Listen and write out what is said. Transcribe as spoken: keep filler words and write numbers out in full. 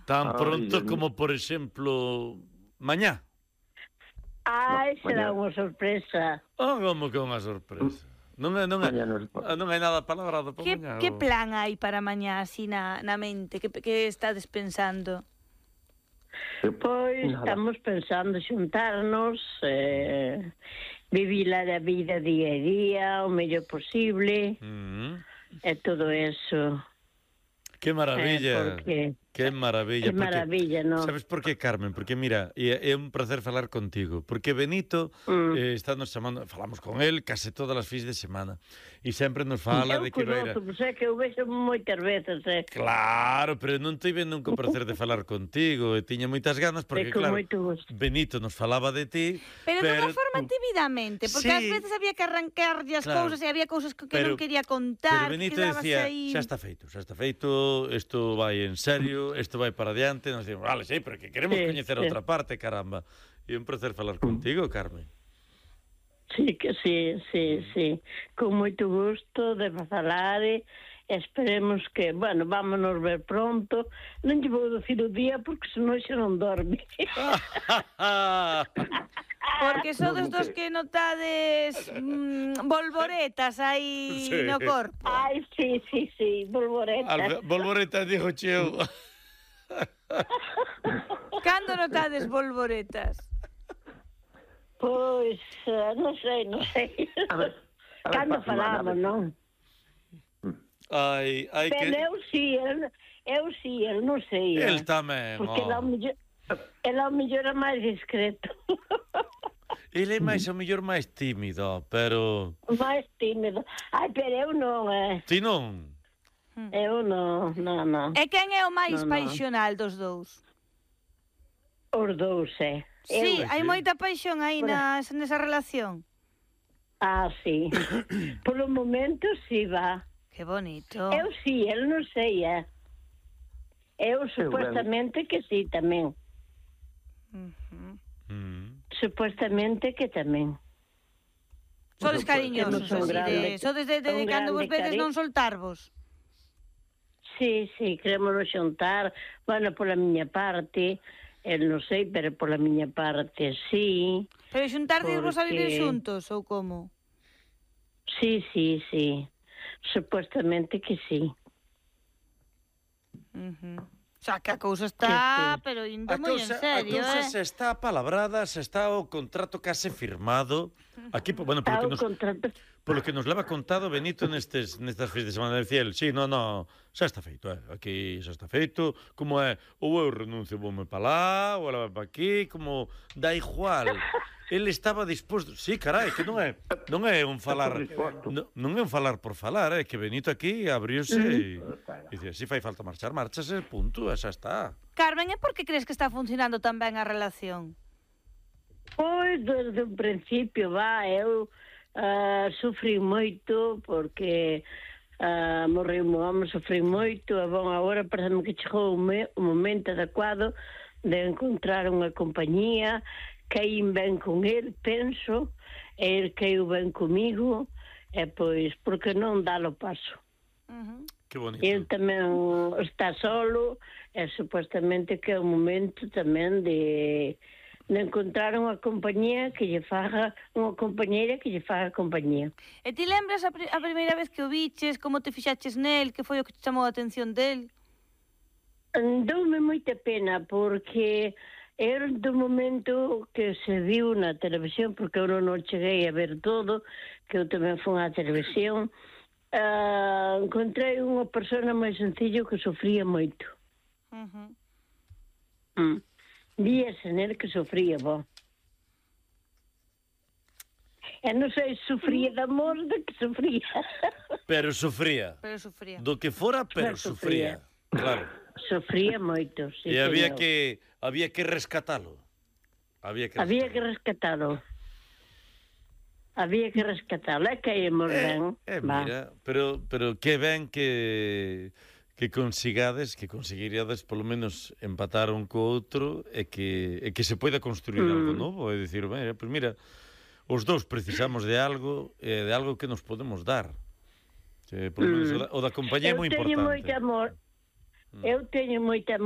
Tan Ai, pronto Dios como, por exemplo, mañá. Ai, No, será mañá. unha sorpresa. Oh, como que unha sorpresa. Non é, non é, Mañá non se pode. non hai nada palabrado para Que, mañá. que o- plan hai para mañá así na, na mente? Que, que estades pensando? Pois Nada. estamos pensando xuntarnos, eh, vivir a vida día a día, o mellor posible, Mm. e todo eso. Que maravilla. Eh, porque Que maravilla. é porque- maravilla, non? Sabes por qué, Carmen? Porque mira, é, é un placer falar contigo. Porque Benito Mm. eh, está nos chamando, falamos con él case todas as fins de semana. E sempre nos fala Eu de que vai ir a... conozco, pois é que eu vexo moitas veces, eh. Claro, pero non tive nunca o placer de falar contigo. E tiña moitas ganas porque, É con claro, moito gusto. Benito nos falaba de ti. Pero, pero dunha forma tímidamente, porque Sí. ás veces había que arrancarlle as Claro. cousas e había cousas que, que Pero- non quería contar, Pero Benito que quedabas decía, aí... xa está feito, xa está feito, isto vai en serio, isto vai para adiante, nos dicimos, vale, sí, pero que queremos Sí, coñecer sí. outra parte, caramba. E un placer falar contigo, Carmen. Sí, que sí, sí, sí. Con moito gusto de falar e esperemos que, bueno, vámonos ver pronto. Non lle vou dicir o día porque senón xa non dorme. Porque sodes dos que notades mm, volvoretas aí Sí. no corpo. Ai, sí, sí, sí, bolboreta. Alfa, Volvoreta dijo cheu. Cando notades volvoretas? Pois, eh, non sei, non sei. A ver, a ver, Cando pa semana, a falamos, ver. non? Ai, ai Pero que... eu sí, eu, eu sí, eu non sei. eh. El tamén, Porque oh. ela ao mellor, ela ao mellor é máis discreto. Ele é máis, ao mellor, máis tímido, pero... máis tímido. Ai, pero eu non, eh. Ti non? Eu non, non, non. E quen é o máis No, no. paixonal dos dous? Os dous, eh. Sí, Eu, hai sí. moita paixón aí Bueno. nas, nesa relación. ah, sí. Polo momento, sí, va. Que bonito. Eu sí, el non sei, eh. Eu supuestamente que sí, tamén. Ujú. Mm. Supuestamente que tamén. Sodes cariñosos, Temos un así de... grande- Sodes de, de, de un cando vos grande vedes cari- non soltarvos. Sí, sí, queremos xuntar. Bueno, pola miña parte, el non sei, pero pola miña parte, sí. Pero xuntardes vos a vivir Porque- xuntos, ou como? Sí, sí, sí. Supuestamente que sí. Uh-huh. O sea, que a cousa está, Que sí. pero indo A moi en cousa, a serio, cousa eh? se está palabrada, se está o contrato case firmado. Aquí, bueno, Está porque o nos... contrato. Polo que nos leva contado Benito nestes, nestas fins de semana de Ciel, sí, no, no, xa está feito, eh. Aquí xa está feito, como é, ou eu renuncio, voume pa lá, ou ela vai pa aquí, como dá igual. Ele estaba disposto, sí, carai, que non é, non é un falar, disposto. non, non é un falar por falar, é que Benito aquí abriuse e, e dicía, si fai falta marchar, marchase, punto, e xa está. Carmen, e por que crees que está funcionando tan ben a relación? Pois, desde o principio, va, eu uh, sufrí moito, porque uh, morreu o home, sufrí moito, e bon, agora parece que chegou o, me, o momento adecuado de encontrar unha compañía, caín ben con el, penso, e el caiu ben comigo, e pois, porque non dalo paso. Uh-huh. Que bonito. El tamén está solo, e supostamente que é o momento tamén de de encontrar unha compañía que lle faga, unha compañeira que lle faga compañía. E ti lembras a, pri a primeira vez que o viches, como te fixaches nel, que foi o que te chamou a atención del? Doume moita pena porque era do momento que se viu na televisión, porque eu non cheguei a ver todo, que eu tamén fui á televisión, uh, encontrei unha persona máis sencillo que sofría moito. Uh-huh. Mm. Víase nel que sofría, bo. E non sei se sofría de amor de que sofría. Pero sufría. Pero sufría. Do que fora, pero Pero sufría. sufría. Claro. Sofría moito, sí, E había señor. que había que rescatalo. Había que Había que rescatalo. Había que rescatalo. É que íamos ben. Eh, Va. mira, pero pero que ben que que consigades, que conseguiríades polo menos empatar un co outro e que e que se poida construir Mm. algo novo, e dicir, mira, pues mira, os dous precisamos de algo, e de algo que nos podemos dar. Que polo menos Mm. o da, o da compañía é Eu moi teño importante. moito amor. Eu teño moita